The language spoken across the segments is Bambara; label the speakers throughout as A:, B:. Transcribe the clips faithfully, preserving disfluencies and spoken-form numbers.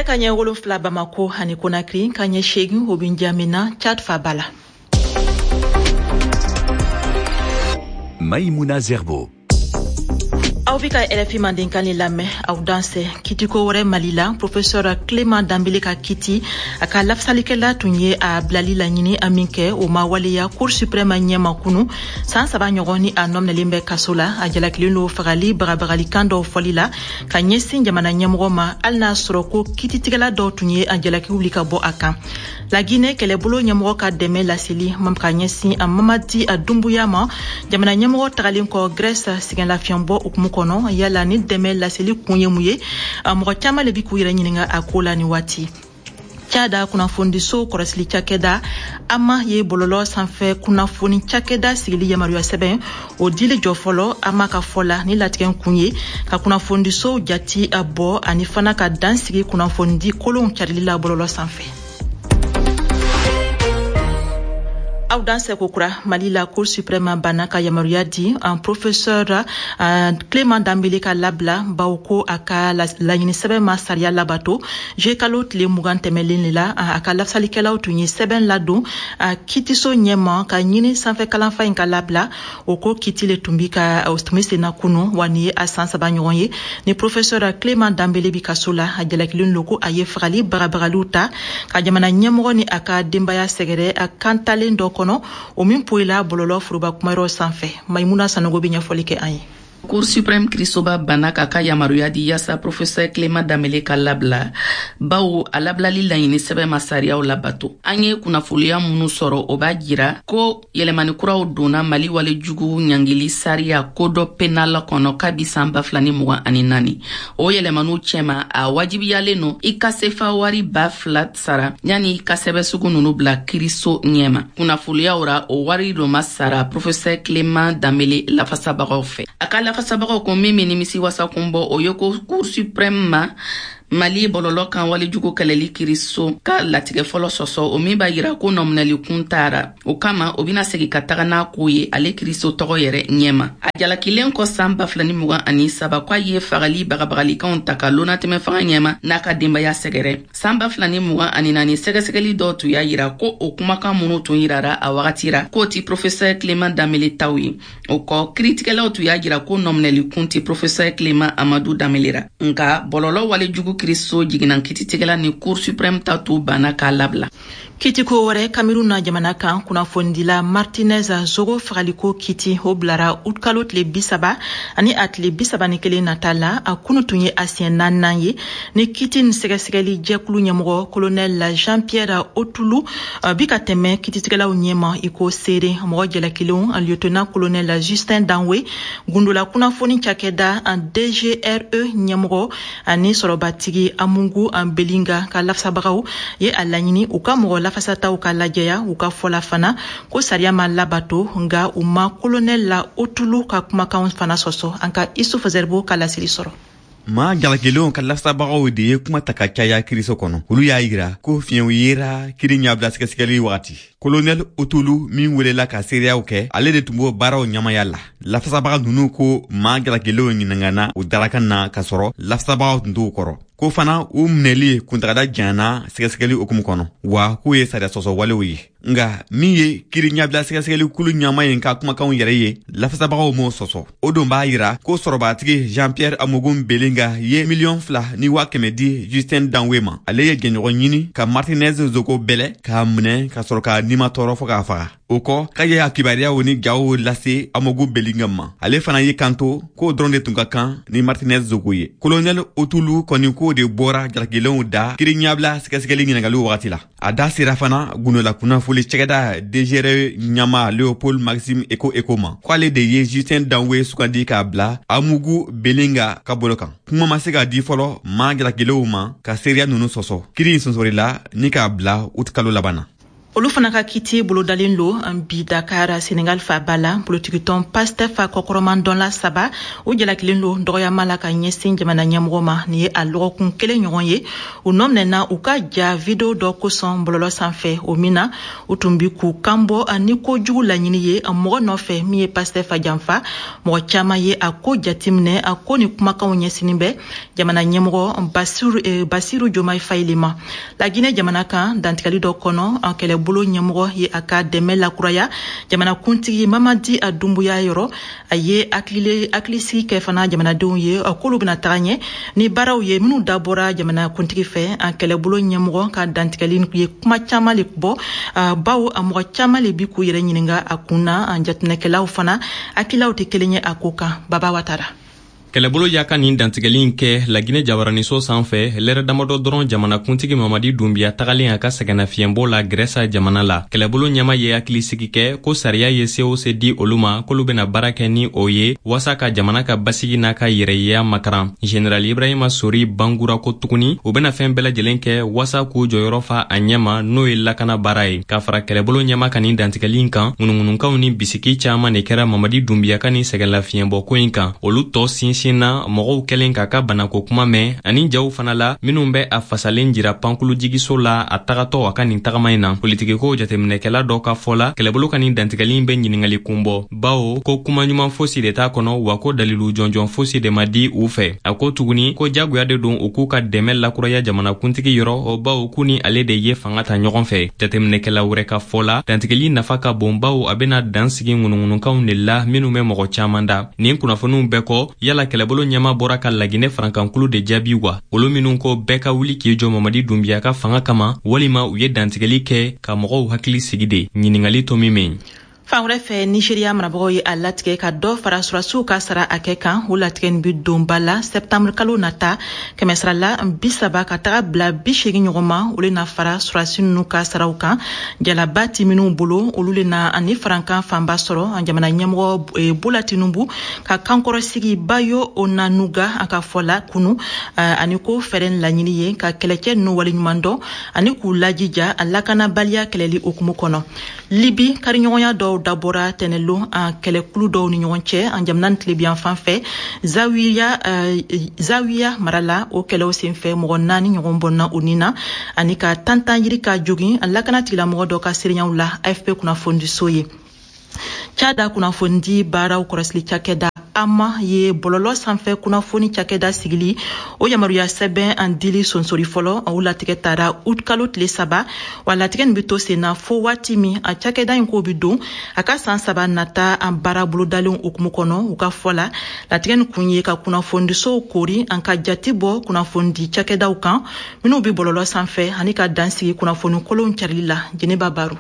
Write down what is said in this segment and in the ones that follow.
A: Nɛgɛ ka ɲɛ wolonfila Bamako ani Conakry, ka ɲɛ seegin o bɛ N'Djamena, Tchad faaba la.
B: Maïmouna Zerbo.
A: Aw bɛ ka R F I mandenkan le lamɛn. Aw dansɛ. Kitiko wɛrɛ Mali la, professeur Clément Dembélé ka kiti, a ka lafasalikɛla tun ye a bilali laɲini a min kɛ, o ma waleya Cour suprême ɲɛma kunu. San saba ɲɔgɔn ni a nɔminɛlen bɛ kaso la, a jalakilen don fagali bagabagalikan dɔw fɔli la ka ɲɛsin jamana ɲɛmɔgɔ ma, hali n'a sɔrɔ ko kititigɛla dɔw tun ye a jalaki wuli ka bɔ a kan. Laginɛ kɛlɛbolo ɲɛmɔgɔ ka dɛmɛ laseli ka ɲɛsin a Mamadi a Dumbuya ma, jamana ɲɛmɔgɔ tagalen kɔ Grèce sɛgɛnlafiɲɛbɔ hukumu kɔnɔ, yala ni dɛmɛ laseli kun ye mun ye? Mɔgɔ caman le bi k'u yɛrɛ ɲininga a ko la ni waati. Tchad kunnafonidiso kɔlɔsili cakɛda AMA ye bɔlɔlɔ sanfɛ kunnafoni cakɛda sigili yamaruya sɛbɛn o dili jɔ fɔlɔ. AMA ka fɔ la, ni latigɛ kun ye ka kunnafonidisow jati a bɔ ani fana ka dan sigi kunnafonidi kolonw carili la bɔlɔlɔ sanfɛ. Aw dansɛ kokura. Mali la, Cour suprême banna ka yamaruya di un professeur uh, Clément Dembélé ka labila, bawo ko a ka laɲini sɛbɛn ma sariya labato. Juillet kalo tile mugan tɛmɛlen le la, a ka lafasalikɛlaw tun ye sɛbɛn ladon a kitiso ɲɛma ka ɲini sanfɛ kalanfa in ka labila. O ko kiti le tun bi ka tun bɛ senna kunu. Wa nin ye a san saba ɲɔgɔn ye ni professeur Clément Dembélé bi kaso la. A jalakilen lo ko a ye fagali bagabagaliw ta ka jamana ɲɛmɔgɔ ni a ka denbaya sɛgɛrɛ a kantalen dɔ kɔnɔ, o min poyila bɔlɔlɔ foroba kumayɔrɔ sanfɛ. Maimuna Sanogo bɛ ɲɛfɔli kɛ an ye.
C: Cour suprême kirisoba banna k'a ka yamaruya di yaasa professeur Clément Dembélé ka labila, bawo a labilali laɲini sɛbɛn ma sariyaw labato. An ye kunnafoniya minnu sɔrɔ, o b'a jira ko yɛlɛmani kuraw donna Mali wale jugu ɲangili sariya Code pénal kɔnɔ kabi san ba fila ni mugan ani naani. O yɛlɛmaniw cɛma, a wajibiyalen no i ka sefa wari ba fila sara yani i ka sɛbɛ sugu nunu bila kiriso ɲɛma. Kunnafoniyaw ra, o wari do ma sara professeur Clément Dembélé lafasabagaw fɛ. A ka lafasabagaw ko min bɛ nimisi wasakun bɔ, o ye ko Cour suprême ma Mali bɔlɔlɔ kan walejugu kɛlɛli kiriso ka latigɛ fɔlɔ sɔsɔ, o min b'a yira ko nɔminɛli kun taara. O kama, o bɛna segi ka taga n'a ko ye ale kiriso tɔgɔ yɛrɛ ɲɛma. A jalakilen kɔ san ba fila ni mugan ani saba k'a ye fagali bagabagalikanw ta ka lonatɛmɛ fanga ɲɛma n'a ka denbaya sɛgɛrɛ, san ba fila ni mugan ani naani, sɛgɛsɛgɛli dɔw tun y'a yira ko o kumakan minnu tun yirara a wagati ra, k'o ti professeur Clément Dembélé taw ye. O kɔ, kiritigɛlaw tun y'a jira ko nɔminɛli kun ti professeur Clément Amadou Dembélé ra, nka bɔlɔlɔ walejugu kiriso jiginna kititigɛla ni Cour suprême ta t'u banna k'a labila.
A: Kitiko wɛrɛ, Kamerun na jamana kan, kunnafonidila Martinez Zogo fagaliko kiti, o bilara utkalo tile bi saba ani a tile bi saba ni kelen nata la. A kunu tun ye a siɲɛ naaninan ye ni kiti ni sɛgɛsɛgɛli jɛkulu ɲɛmɔgɔ colonel Jean Pierre Otulu bi ka tɛmɛ kititigɛlaw ɲɛma i ko seere. Mɔgɔ jalakilenw, lieutenant colonel Justin Danwe, gundola kunnafoni cakɛda D G R E ɲɛmɔgɔ, ani sɔrɔbatigi Amungu Belinga ka lafasabagaw ye a laɲini u ka mɔgɔ lafasataw ka lajɛya. U ka fɔla fana ko sariya ma labato, nga u ma colonel la Otulu ka kumakanw fana sɔsɔ. An ka Isufu Zɛribo ka laseli sɔrɔ.
D: Maa jalakilenw ka lafasabagaw de ye kuma ta ka caya kiriso kɔnɔ. Olu y'a yira ko fiɲɛw yera kiri ɲabila sɛgɛsɛgɛli wagati. Kolonɛl Otulu min welela ka seereyaw kɛ, ale de tun b'o baaraw ɲamaya la. Lafasabaga nunu ko maa jalakilenw ɲiningana u darakan na k'a sɔrɔ lafasabagaw tun t'u kɔrɔ, ko fana u minɛli kuntagada janyana sɛgɛsɛgɛli hukumu kɔnɔ, wa k'u ye sariya sɔsɔ walew ye. Nga min ye kiri ɲabila sɛgɛsɛgɛli kulu ɲama ye ka kumakanw yɛrɛ ye, lafasabagaw m'o sɔsɔ. O don b'a yira ko sɔrɔbatigi Jean Pierre Amogun Belinga ye miliyɔn fila ni waa kɛmɛ di Justin Danwe ma. Ale ye jɛɲɔgɔn ɲini ka Martinez Zogo bɛlɛ k'a minɛ ka sɔrɔ k'a nima tɔɔrɔ fɔɔ k'a faga. O kɔ, k'a ye a kibaruyaw ni jaw lase Amogu Belinga ma. Ale fana y'i kanto k'o dɔrɔn de tun ka kan ni Martinez Zogo ye. Kolonɛl Otulu kɔni k'o de bɔra jalakilenw da kiri ɲabila sɛgɛsɛgɛli ɲiningaliw wagati la. A da sera fana gundola kunnafoli cɛgɛda D G R E ɲama Leopold Maxime Eko Eko ma, k'ale de ye Justin Danwe sugandi k'a bila Amugu Belinga ka bolo kan. Kuma ma se ka di fɔlɔ maa jalakilenw ma ka seereya nunu sɔsɔ. Kiri in sɔnsɔrila ni k'a bila utikalo laban na.
A: Olu fana ka kiti bolodalen lo bi Dakar, Senegal faaba la. Politikitɔn Pastef kɔkɔrɔman saba o jalakilen lo dɔgɔyama la ka ɲɛsin jamana ɲɛmɔgɔ ma. Nin ye a lɔgɔkun kelen ɲɔgɔn ye u nɔ minɛna u ka ja video dɔ kosɔn bɔlɔlɔ sanfɛ, o min na u tun bi k'u kanbɔ ni kojugu laɲini ye mɔgɔ nɔfɛ min ye Pastef janfa. Mɔgɔ caman ye a ko jateminɛ a ko ni kumakanw ɲɛsinin bɛ jamana ɲɛmɔgɔ Basiru, eh, Basiru Jomayi Fayi le ma. Laginɛ jamana kan, dantigɛli dɔ kɔnɔ, kɛlɛbolo ɲɛmɔgɔ ye a ka dɛmɛ lakuraya jamanakuntigi Mamadi Dunbuya yɔrɔ. A ye hakilisigi kɛ fana jamanadenw ye k'olu bɛna taga ɲɛ ni baaraw ye minnu dabɔra jamanakuntigi fɛ. A kɛlɛbolo ɲɛmɔgɔ ka dantigɛli ye kuma caman le bɔ, bawo a mɔgɔ caman le bi k'u yɛrɛ ɲininga a kun na. Jateminɛkɛlaw fana hakililaw tɛ kelen ye a ko kan. Baba Watara.
B: Kɛlɛbolo y'a ka nin dantigɛli in kɛ Laginɛ jabaraniso sanfɛ lɛrɛ damadɔ dɔrɔn jamanakuntigi Mamadi Dunbiya tagalen a ka sɛgɛnnafiɲɛbɔ la Grɛsa jamana la. Kɛlɛbolo ɲɛma ye hakilisigi kɛ ko sariya ye se o se di olu ma, k'olu bena baara kɛ ni o ye waasa ka jamana ka basigi n'a ka yɛrɛyeya makaran. General Ibrahima Sori bangura ko tuguni u bena fɛn bɛɛ lajɛlen kɛ waasa k'u jɔyɔrɔ fa a ɲɛma, n'o ye lakana baara ye. Ka fara kɛlɛbolo ɲɛma ka nin dantigɛli in kan, ŋunuŋunukanw ni bisiki caaman de kɛra Mamadi Dunbiya ka nin sɛgɛnlafiɲɛbɔ ko in kan. Olu tɔ sinsin na mɔgɔw kɛlen k'a ka banako kuma mɛn ani jaw fana la minw bɛ a fasalen jira pankulujigiso la a tagatɔ a ka nin tagama in na. Politikiko jateminɛkɛla dɔ ka fɔ la, kɛlɛbolo ka nin dantigɛli bɛ ɲiningali kun bɔ, bawo ko kuma ɲuman fosi de t'a kɔnɔ, wa ko dalilu jɔnjɔn fosi de ma di u fɛ. A ko tuguni ko jagoya de don u k'u ka dɛmɛ lakuraya jamanakuntigi yɔrɔ, o bawo k'u ni ale de ye fanga ta ɲɔgɔn fɛ. Jateminɛkɛla wɛrɛ ka fɔ la, dantigɛli nafa ka bon, bawo a bena dan sigi ŋunuŋunukanw de la minw bɛ mɔgɔ caaman da. Nin kunnafoniw bɛɛ kɔ, yala kɛlɛbolo ɲɛma bɔra ka Laginɛ farankankulu de jaabi wa, olu minw ko bɛɛ ka wuli k'i jɔ Mamadi Dunbiya ka fanga kama, walima u ye dantigɛli kɛ ka mɔgɔw hakili sigi de? Ɲiningali to min men.
A: Fan wɛrɛ fɛ, Nigeriya marabagaw ye a latigɛ ka dɔ fara surasiw ka sara hakɛ kan. O latigɛ nin bi don ba la sɛptanburu kalo nata, kɛmɛsarala bi saba ka taga bila bi seegin ɲɔgɔn ma, olu na fara surasi nunu ka saraw kan. Jalaba ti minnu bolo, olu le na ani farankan fanba sɔrɔ. Jamana ɲɛmɔgɔ Bola Tinubu ka kankɔrɔsigi Bayo Onanuga a ka fɔ la kunu ani ko fɛɛrɛ laɲini ye ka kɛlɛcɛ nunu waleɲuman dɔn ani k'u lajija a lakanabaliya kɛlɛli hukumu kɔnɔ. Libi, kariɲɔgɔnya dɔw dabɔra tɛnɛlon an kɛlɛkulu dɔw ni ɲɔgɔn cɛ an jamana ni tilebiyan fan fɛ, Zawiya, Zawiya mara la. O kɛlɛw senfɛ, mɔgɔ naani ɲɔgɔn bɔnna u ni na ani ka tantan yiri ka jogin a lakana tigilamɔgɔ dɔ ka seereyaw la. A F P kunnafonidiso ye. Cada kunnafonidi baaraw kɔrɔsili cakɛda AMA ye bɔlɔlɔ sanfɛ kunnafoni cakɛda sigili o yamaruya sɛbɛn an dili sonsori fɔlɔ. O latigɛ tara ut kalo tile saba, wa latigɛ nin be to sen na fo waati min a cakɛda in ko bi don a ka san saba nata an baara bolodalen hukumu kɔnɔ. U ka fɔ la, latigɛ nin kun ye ka kunnafonidisow kori an ka jati bɔ kunnafonidi cakɛdaw kan minw be bɔlɔlɔ sanfɛ ani ka dan sigi kunnafoni kolonw carili la. Jɛnɛba Baro.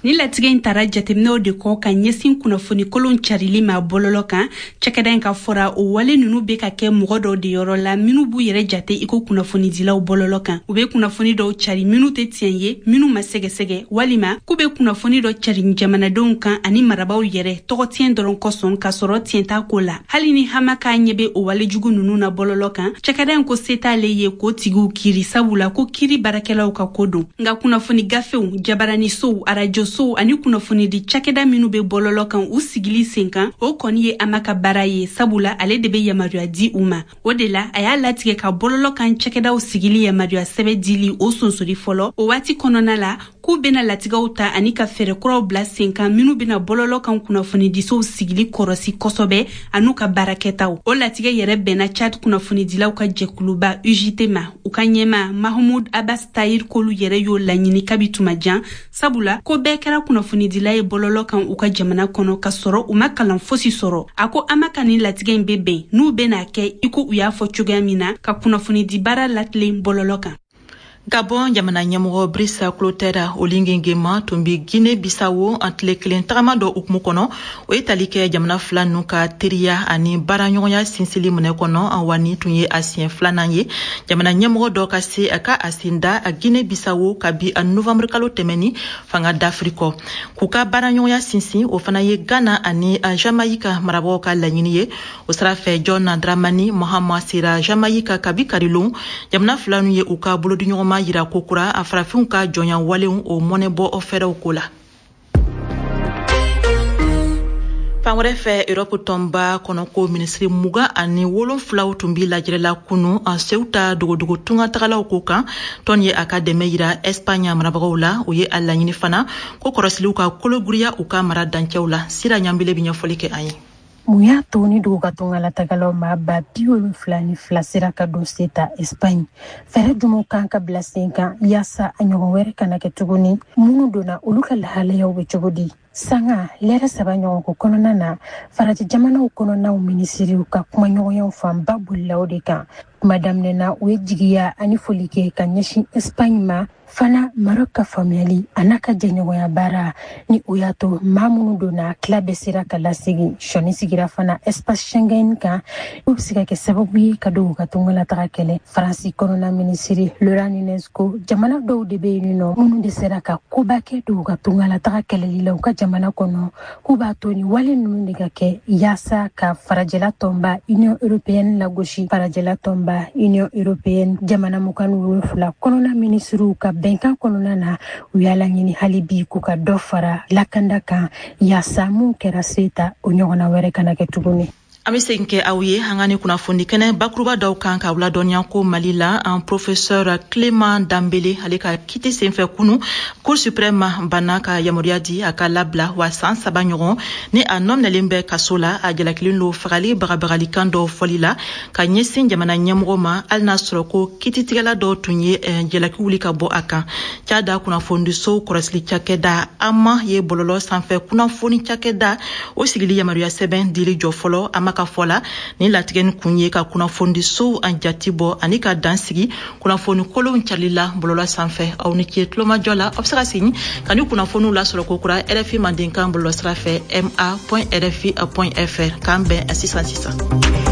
E: Ni latigɛ in tara jateminɛw de kɔ ka ɲɛsin kunnafoni kolon carili ma bɔlɔlɔ kan. Cakɛda in ka fɔra, o wale nunu be ka kɛ mɔgɔ dɔw de yɔrɔ la minw b'u yɛrɛ jate i ko kunnafonidilaw bɔlɔlɔ kan. U be kunnafoni dɔw cari minw tɛ tiɲɛ ye, minw ma sɛgɛsɛgɛ, walima k'u be kunnafoni dɔ cari jamanadenw kan ani marabaw yɛrɛ tɔgɔ tiɲɛ dɔrɔn kosɔn, k'a sɔrɔ tiɲɛ t'a ko la. Hali ni AMA k'a ɲɛ be o walejugu nunu na bɔlɔlɔ kan, cakɛda in ko se t'ale ye k'o tigiw kiri, sabula ko kiri baarakɛlaw ka ko don. Nka kunnafoni gafew, jabaranisow, arajo sow ani kunnafonidi cakɛda minw be bɔlɔlɔ kan, u sigili sen kan, o kɔni ye AMA ka baara ye, sabula ale de be yamaruya di u ma. O de la a y'a latigɛ ka bɔlɔlɔ kan cakɛdaw sigili yamaruya sɛbɛ dili o sonsori fɔlɔ. O waati kɔnɔna la, k'u bena latigɛw ta ani ka fɛɛrɛ kuraw bila sen kan minw bena bɔlɔlɔ kan kunnafonidisow sigili kɔrɔsi kosɔbɛ an'u ka baarakɛtaw. O latigɛ yɛrɛ bɛnna Chad kunnafonidilaw ka jɛkuluba U J T ma. U ka ɲɛma Mahamud Abbas Tahir k'olu yɛrɛ y'o laɲini kabi tuma jan, sabula ko bɛɛ kɛra kunnafonidila ye bɔlɔlɔ kan u ka jamana kɔnɔ ka sɔrɔ u ma kalan fosi sɔrɔ. A ko AMA ka nin latigɛ in be bɛn n'u bena kɛ i ko u y'a fɔ cogoya min na ka kunnafonidi baara latilen bɔlɔlɔ kan.
A: Gabon jamana ɲɛmɔgɔ Brice Clotaire Oligui Nguema tun bi Guinée Bissau an tile kelen tagama dɔ hukumu kɔnɔ. O ye tali kɛ jamana fila nu ka teriya ani baaraɲɔgɔnya sinsili minɛ kɔnɔ, wa ni tun ye a siɲɛ filanan ye jamana ɲɛmɔgɔ dɔ ka se a ka a sen da a Guinée Bissau kabi a novembre kalo tɛmɛni fanga dafiri kɔ. K'u ka baaraɲɔgɔnya sinsin, o fana ye Ghana ani Jamaïque marabagaw ka laɲini ye. O sira fɛ, John Dramani Mahama sera Jamaïque kabi karilon. Jamana fila nu ye u ka bolodiɲɔgɔnma ɲɛma yira kokura a farafinw ka jɔnya walenw o mɔnɛbɔ fɛɛrɛw ko la. Fan wɛrɛ fɛ, Europe tɔnba kɔnɔko minisiri mugan ani wolonfilaw tun bi lajɛrɛ la kunu Ceuta dogodogo tungatagalaw ko kan. Tɔn ye a ka dɛmɛ yira Espagne marabagaw la. O ye a laɲini fana ko kɔrɔsiliw ka kologiriya u ka mara dancɛw la. Sira Ɲanbele bi ɲɛfɔli kɛ an ye.
F: Mun y'a to ni dugukatungalatagalaw maa ba bi wolonfila ni fila sera ka don Ceuta Espagne? Fɛɛrɛ jumɛnw kan ka bila sen kan yaasa a ɲɔgɔn wɛrɛ kana kɛ tuguni? Minnu donna, olu ka lahalayaw bɛ cogo di? Sanga lɛrɛ saba ɲɔgɔnko kɔnɔna na, farajɛ jamanaw kɔnɔnaw minisiriw ka kumaɲɔgɔnyaw fanba bolila o de kan. Kuma daminɛ na, u ye jigiya ani foli kɛ ka ɲɛsin Espagne ma, fana Maroc ka faamuyali a n'a ka jɛɲɔgɔnya baara ni o y'a to maa minnu donna, tila bɛɛ sera ka lasegin. Sɔnni sigira fana espace Schengen kan, o bɛ se ka kɛ sababu ye ka don u ka tungalataga kɛlɛ. Faransi kɔnɔna minisiri Laurent Nunez ko jamana dɔw de bɛ yen nɔ minnu de sera ka koba kɛ don u ka tungalataga kɛlɛli la u ka jamana kɔnɔ, k'u b'a to ni wale ninnu de ka kɛ yaasa ka farajɛla tɔnba Union européenne lagosi. Farajɛla tɔnba Union européenne jamana mugan ni wolonfila kɔnɔna minisiriw ka bɛnkan kɔnɔna na, u y'a laɲini hali bi k'u ka dɔ fara lakanda kan yaasa mun kɛra Ceuta, o ɲɔgɔnna wɛrɛ kana kɛ tuguni.
A: An bɛ segin kɛ aw ye an ka ni kunnafoni kɛnɛ bakuruba dɔw kan k'aw ladɔnniya ko Mali la, an professeur Clément Dambele, ale ka kiti senfɛ kunu, Cour suprême banna ka yamaruya di a ka labila. Wa san saba ɲɔgɔn ni a nɔminɛlen bɛ kaso la, a jalakilen don fagali bagabagalikan dɔw fɔli la ka ɲɛsin jamana ɲɛmɔgɔ ma, hali n'a sɔrɔ ko kititigɛla dɔw tun ye jalaki wuli ka bɔ a kan. Cada kunnafonidisow kɔlɔsili cakɛda AMA ye bɔlɔlɔ sanfɛ kunnafoni cakɛda o sigili yamaruya sɛbɛn dili jɔ fɔlɔ. AMA ka fɔ la, ni latigɛ ni kun ye ka kunnafonidisow an jati bɔ ani ka dan sigi kunnafoni kolonw carili la bɔlɔlɔ sanfɛ. Aw ni ce tulomajɔ la. Aw bɛ se ka segin ka ni kunnafoniw lasɔrɔ ko kura R F I mandenkan bɔlɔlɔ sira fɛ, ma point R F I point F R. K'an bɛn sisan sisan.